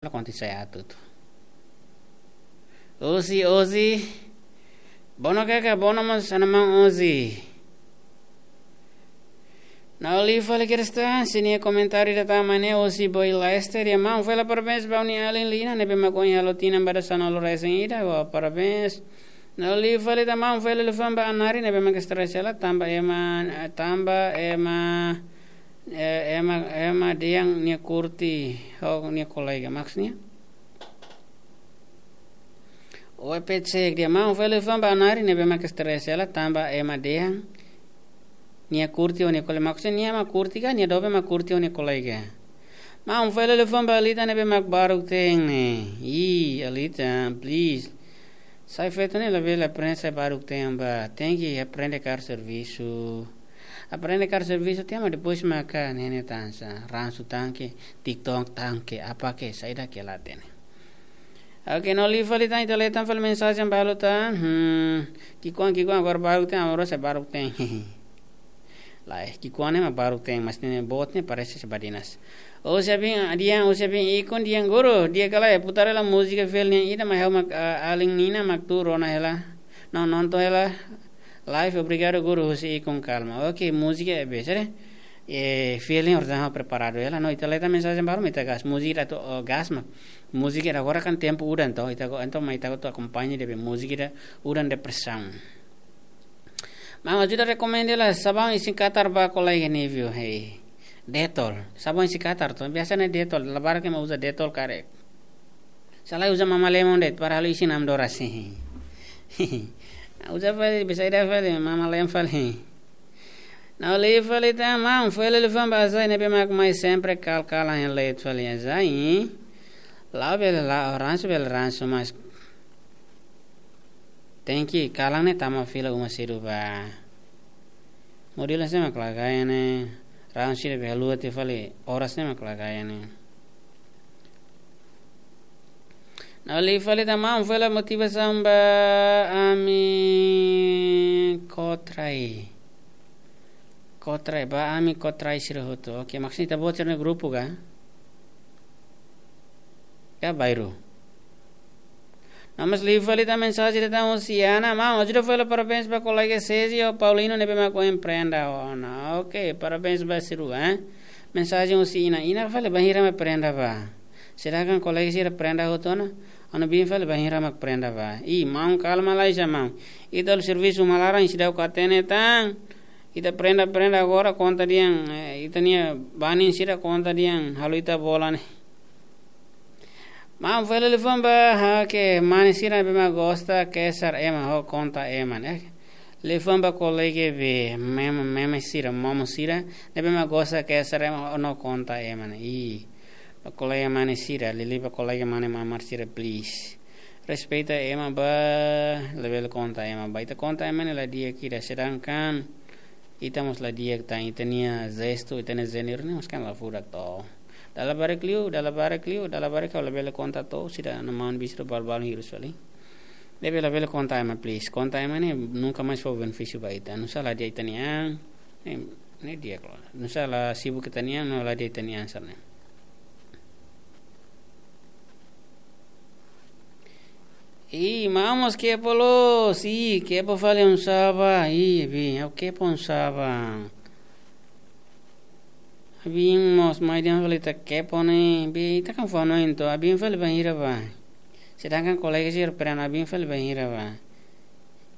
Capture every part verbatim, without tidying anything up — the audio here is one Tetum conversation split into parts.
La konta sai atu tu. Ozi, Ozi. Bono kaka, bono mós ona maun Ozi. Nau li fali Krista, sini komentáriu ida tama ne'e Ozi Boy Lester, ya maun fela parabéns ba ó-nia alin Lina, ne'ebé mak ohin halo tinan ba dasanulu-resin-ida, wa parabéns. Nau li fali tan maun fela liafuan ba Anari, ne'ebé mak stress hela, tanba ema, tanba ema, eh, ema, ema dehan nia kurti, ho nia kolega, maksudnya. Oe pecek dia maun fela liafuan ba Anari, ne'ebé mak stress hela, tanba ema dehan nia kurti ho nia kolega. Maksudnya nia mak kurti ka, nia doben mak kurti ho nia kolega. Maun fela liafuan ba Alita ne'ebé mak baruk te'in ne'e. Ih, Alita, please. Sai feto ne'e labele aprende sai baruk te'in ba. Tenke aprende kaer servisu. Aprende kaer servisu tiha mak depois maka ne'e ne'e tan sa. Ransu tanke, TikTok tanke, apa ke, saida ke la hatene. Oke, nau li fali tan, ita leten fali mensajen balu tan. Hmm, ki'ikoan, ki'ikoan, agora baruk te'in, agora sai baruk te'in. Lae, ki'ikoan ne'e mak baruk te'in, mas ne'e boot ne'e parese se badinas. Ó sei bin, dehan, ó sei bin ikun dehan guru, dehan kala ya, putar hela múzika fiel nian ida, mai ha'u mak, ah, alin Nina mak tuur ona hela. Nau nonton hela live, obrigadu guru, husi ikun kalma. Oke, múzika é be, sere? E fiel nian ordenha preparadu hela, no ita leten mensajen balu, ita gas, múzika atu, oh, gas mak. Múzika ida agora kan tempu udan to, ita go, entaun mai ita go atu akompaña de'it múzika ida udan depresaun. Maun ajuda rekomenda hela sabaun isin katar ba kolega Nívio, hei. Dettol. Sabaun isin katar to. Biasa ne'e Dettol. Labarik ema uza Dettol karik. Se lae uza Mama Lemon de'it, para halo isin am dora si. Uza fali, bisa ida fali, Mama Lemon fali. Nau li fali tan maun, fela liafuan ba Azai ne'ebé mak mai sempre kal-kalan iha leet fali Azai. La'o bele la'o, ransu bele ransu, mas tenke kalan ne'e tama fila uma sedu ba. Modelu hanesan mak la gaya ne'e, ransu sira be haluha tiha fali, oras ne'e mak la gaya ne'e. Nau li fali tan maun, fela motivasaun ba ami kotrai. Kotrai, ba ami kotrai sira hotu. Oke, maksudnya ita-boot sira-nia grupu ka? Ka bairru. Nau mós li fali tan mensajen ida tan husi Ana, maun, ajuda fela parabéns ba kolega Sesi ho Paulino ne'ebé mak ohin prenda ona. Oke, parabéns ba sira, eh. Mensajen husi Ina, Ina fali bainhira mak prenda ba. Sedangkan kolega sira prenda hotu ona, ó-nia biin fali bainhira mak prenda ba. Ih, maun kalma lai sa maun. Ita halo servisu uma laran seidauk hatene tan. Ita prenda, prenda agora konta dehan, eh, ita-nia banin sira konta dehan halo ita bola ne'e. Maun fela liafuan ba, ha, ke mane sira ne'ebé mak gosta kesar ema ho konta ema ne'e. Liafuan ba kolega be meme, meme sira, momo sira ne'ebé mak gosta kesar ema ho konta ema ne'e. Ih, ba kolega mane sira, liuliu ba kolega mane mamar sira, please. Respeita ema ba, labele konta ema ba. Ita konta ema ne'e la di'ak ida, sedangkan ita mós la di'ak tan, ita-nia jestu, ita-nia jeneru ne'e mós kan la furak to. Dala barak liu, dala barak liu, dala barak ha'u labele konta to, sira na maun bisru bal-bal hirus fali. Ne'ebé labele konta ema, please. Konta ema ne'e nunka mais fó benefísiu ba ita. Nusá la di'ak ita-nia an, ne'e, ne'e di'ak lo. Nusá la sibuk ita-nia an, no la di'ak ita-nia an sira-ne'e. Ih, maun mós kepo loos, ih, kepo fali oinsá ba, ih, biin, ha'u kepo oinsá ba. Biin mós mai dehan fali ita kepo ne'e, biin, ita kan fó hanoin to, biin fali bainhira ba. Sedangkan kolega sira prenda, biin fali bainhira ba.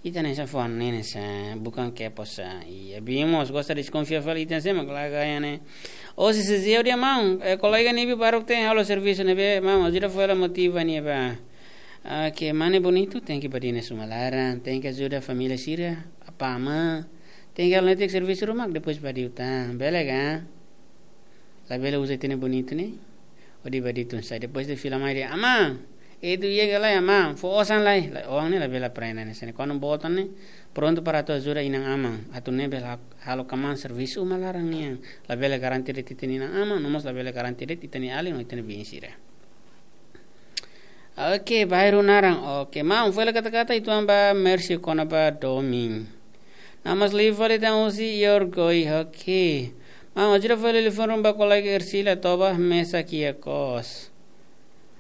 Ita ne'e sa fó hanoin ne'e sa, bukan kepo sa. Ih, biin mós gosta deskonfia fali ita ne'e sa mak la gaya ne'e. Ó sei sei dia maun, eh, kolega Nívio baruk te'in halo servisu ne'ebé, maun, ajuda fó hela motiva nia ba. Oke, mane bonitu, tenke badinas uma laran, tenke ajuda família sira, apá amá, tenke halo netik servisu ruma, depois badiu tan, bele ka? Labele uza ita-nia bonitu ne'e, hodi badiu tun sa'e, depois de fila mai dehan, amá, itu iha ka lae amá, fó osan lai, lae, oan ne'e labele aprende hanesan ne'e, kuandu boot ona ne'e, prontu para atu ajuda inan-aman, atu ne'e bele ha-, halo kmaan servisu uma laran nian, labele garante de'it ita-nia inan-aman, no mós labele garante de'it ita-nia alin no ita-nia biin sira. Oke, bairru naran. Oke, maun, fó hela kata-kata uitoan ba Mercy kona-ba domin. Nau mós li fali tan husi Yorgoi, oke. Maun, ajuda fó hela liafuan ruma ba kolega Ercila toba mesa kia kos.